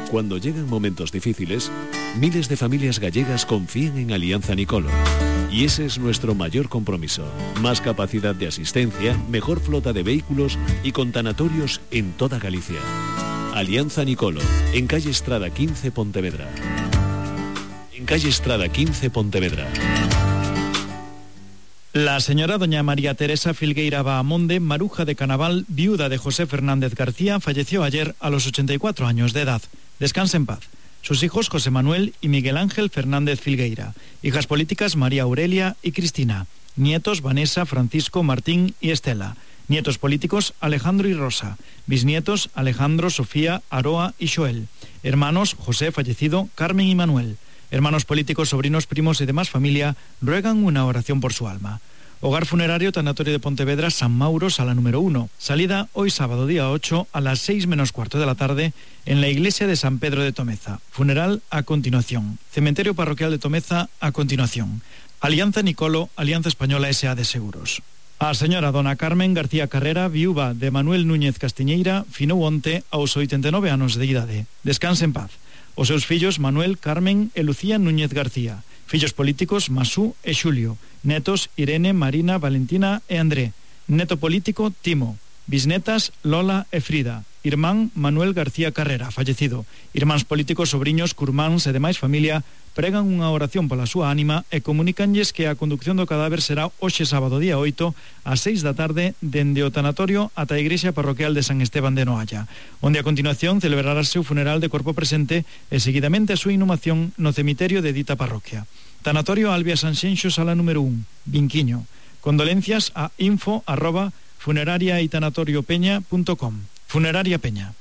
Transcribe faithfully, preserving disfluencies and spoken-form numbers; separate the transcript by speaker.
Speaker 1: Cuando llegan momentos difíciles, miles de familias gallegas confían en Alianza Nicolo. Y ese es nuestro mayor compromiso. Más capacidad de asistencia, mejor flota de vehículos y con tanatorios en toda Galicia. Alianza Nicolo, en calle Estrada quince, Pontevedra. En calle Estrada quince, Pontevedra.
Speaker 2: La señora doña María Teresa Filgueira Bahamonde, maruja de Canaval, viuda de José Fernández García, falleció ayer a los ochenta y cuatro años de edad. Descanse en paz. Sus hijos José Manuel y Miguel Ángel Fernández Filgueira. Hijas políticas María Aurelia y Cristina. Nietos Vanessa, Francisco, Martín y Estela. Nietos políticos Alejandro y Rosa. Bisnietos Alejandro, Sofía, Aroa y Joel. Hermanos José fallecido, Carmen y Manuel. Hermanos políticos, sobrinos, primos y demás familia ruegan una oración por su alma. Hogar funerario Tanatorio de Pontevedra, San Mauro, sala número uno. Salida hoy sábado día ocho a las seis menos cuarto de la tarde en la iglesia de San Pedro de Tomeza. Funeral a continuación. Cementerio parroquial de Tomeza a continuación. Alianza Nicolo, Alianza Española S A de Seguros. A señora dona Carmen García Carrera, viúva de Manuel Núñez Castiñeira, finou onte aos oitenta e nove anos de idade. Descanse en paz. Os seus fillos Manuel, Carmen e Lucía Núñez García. Fillos políticos Masú e Xulio. Netos Irene, Marina, Valentina e André. Neto político Timo. Bisnetas Lola e Frida. Irmán Manuel García Carrera, fallecido. Irmáns políticos, sobriños, curmáns e demais familia pregan unha oración pola súa ánima e comunícanlles que a conducción do cadáver será hoxe sábado día oito ás seis da tarde dende o tanatorio ata a igrexa parroquial de San Esteban de Noalla, onde a continuación celebrarase o funeral de corpo presente e seguidamente a súa inhumación no cemiterio de dita parroquia. Tanatorio Albia Sanxenxo, sala número un, Vinquiño. Condolencias a info arroba funeraria y tanatorio peña punto com. Funeraria Peña.